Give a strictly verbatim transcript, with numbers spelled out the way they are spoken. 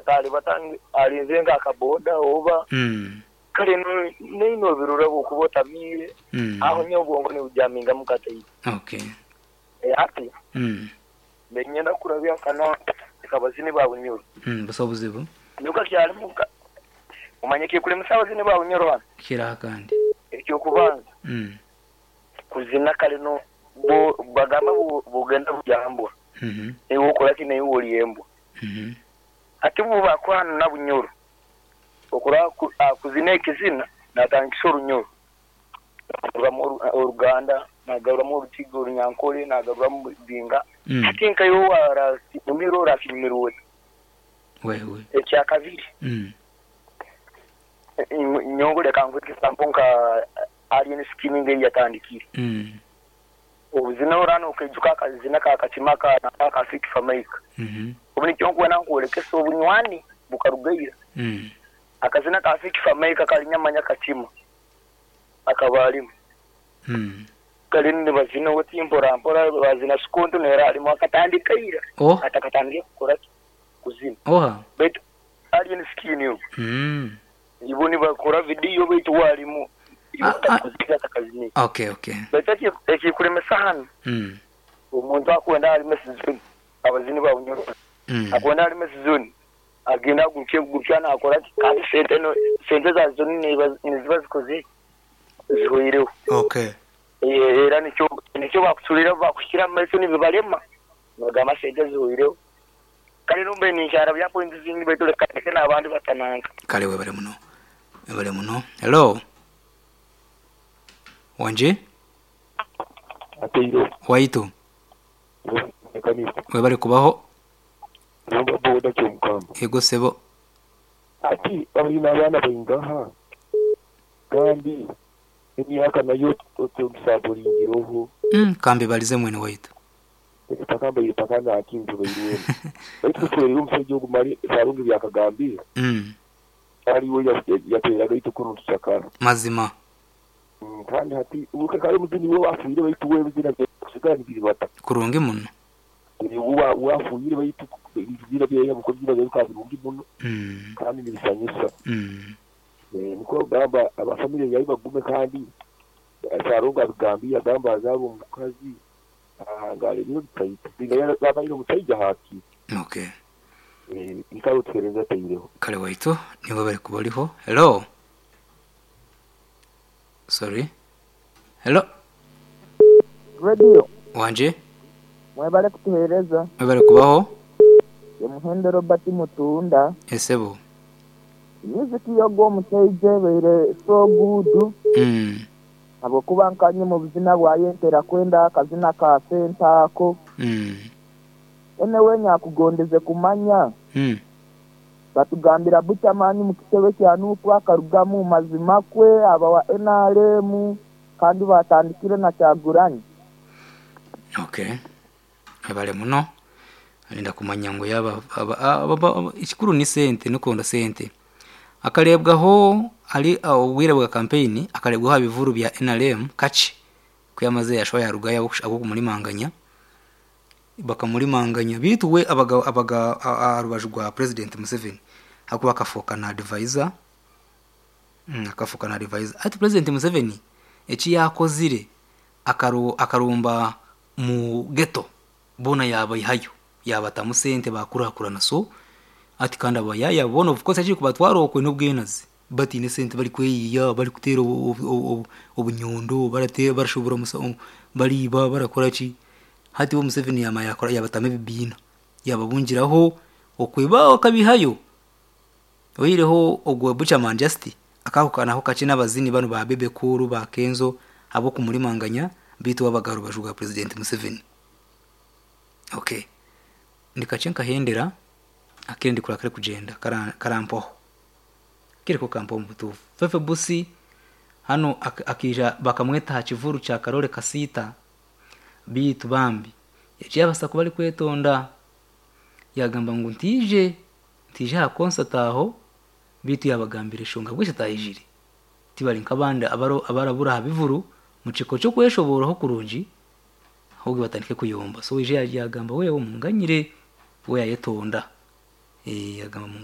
Batali alinze nga akaboda oba Mm. kale no- neino obirora bwokuba otamiire Mm. aho nyo obwongo nibujaminga mukataire. Okay. Ati Mm. nenyenda kurabya kana kabazini ba Bunyoro. Mm. Busa obuzibu. Nyuka kyalimu omanye kikulemesa abazini ba Bunyoro hano Kiraha kandi. Ekyokubanza Mm. kuzina kale no bo bagamba bu- bugenda bujambwa Mhm. niwe okola ki naiwe oli embwa. Mhm. Ati bubakwana na Bunyoro okura ku- ah, kuzina ekizina natandikisa Orunyoro nagaruramu oru- Oruganda, nagaruramu Orukiga, Orunyankole, nagaruramu Binga. Mm. Ati nkayo warakinyumira orakinyumirwe. Wewe. Ekyakabiri, Mm. nyongole kankweka example nka Alien Skin ngeri yatandikire Mm. obuzina orana okaijuka akazina kakakima ka ka Fameica. Mhm. Obu nikyo nkuwena nkwolekesa obunywani bukarugaira. Mm. Akazina ka Fik Fameica kali nyamanya kakima akaba alimu Mm. kali nibazina oti mpora mpora bazina sikuntu nera alimu akatandikaira Oh. atakatandika kukora ki? Kuzina. Oha. Baitu Alien Skin yo Mm. ibo nibakora video baitu walimu Ah, ah. atakazini. Okay, okay. Baitu eki- ekikulemesa hano Mm. omuntu akwenda alime sizoni abazini ba Bunyoro Mm. akwenda alime sizoni agenda agurukye bugurukya nakora ki kandi sente no sente za zoni niba- niziba zikoze zihoireho. Okay. Eh, era nikyo nikyo bakuturira bakushyira mu maiso nibibarema bagamba sente zihoireho kale numbe ninkyara bya pointi zindi baitu leka ndeke n'abandi batananka. Kale webale muno. Webale muno. Hello. Wanje? Ateiro. Waitu. Kanisa. Webale kubaho. Namba boda kyomukamba. Ego sebo. Ati balina abaana baingaha kandi emyaka nayo otogisabulingiroho. Mm. Kambe balize mwene waitu. Takamba yetakana akintu bairwemu baitu kutwerera omusajja ogumali sarungi byakagambire. Mm. Aliwo yatereraga itu kuno tucakara. Mazima. Mm, kandi hati ubuke kale muzini we wafuire baitu we bizina kusigara nibiri bata. Kurungi muno. Wa wafuire baitu bizina bya buko bizina bya birungi muno. Mm. Kandi nibisanyusa. Mm. Eh, niko gamba abafamily yayi bagume kandi sarunga abigambiye agamba azaba omukazi ahangale biro bitayita binga yabaire omusajja haki. Okay. Eh, ikaro twereza tayireho. Kale waitu niwe bari kubaliho. Hello. Sorry. Hello. Radio. Wanje? Mwebale kutuhereza. Webale kubaho. Ye Muhendo Robert Mutunda. Esebo. Music yogo omushaija ebeire so good. Mm. Habwokuba nkanye mu buzina bwayentera kwenda akazina ka sente ako. Mm. Ene we nyakugondeze kumanya. Mm. Batugambira buchamani mu kitebe kya Nuupu akarugamu mazima kwe aba wa N R M kandi batandikire na Kyagulanyi. Okay. Abale muno. Alinda kumanya ngo yaba aba, aba, aba, ikikuru ni sente nukonda sente. Akarebwaho ali obwire bwa campaign akarebwaho abivuru bya N R M kachi kuyamaze yashwa ya rugaya abo kumulimanganya bakamulimanganya bitu we abaga abaga arubaju rwa President Museveni hakuba akafoka na advisor. Mm, akafoka na advisor ati President Museveni eki yakozire akaru akarumba mu ghetto bona yaba ihayo yabatamu sente bakurakurana so ati kandi abayaya bona of course akiri kubatwara okwe n'obwenazi batine sente bari kweyiya bari kutera obunyondo barate barashobora bariba barakora ki hati bo Museveni yama yakora yabatame bibina yababungiraho okweba okabihayo oyireho ogwe Buchaman Just akakukanaho kachi n'abazini bano ba Bebe Cool ba Kenzo abo kumulimanganya bitu abagaru bajuga President Museveni. Okay, ndikache nkahendera akende kura kare kugenda karampoho kiriko kampo mutufu Fefe Busi hano ak akija bakamweta hakivuru cha Karole Kasita bitu bambi yaciye abasa kuba ari kwetonda yagamba ngo ntije ntije ha concert aho bitu yabagambire shonga bwese tayijire tibari nkabanda abaro abarabura habivuru muciko cyo kweshoboraho kurungi ahubwo batandike kuyomba so ije yagamba wewe munganyire we yayetonda eh yagamba munganyire.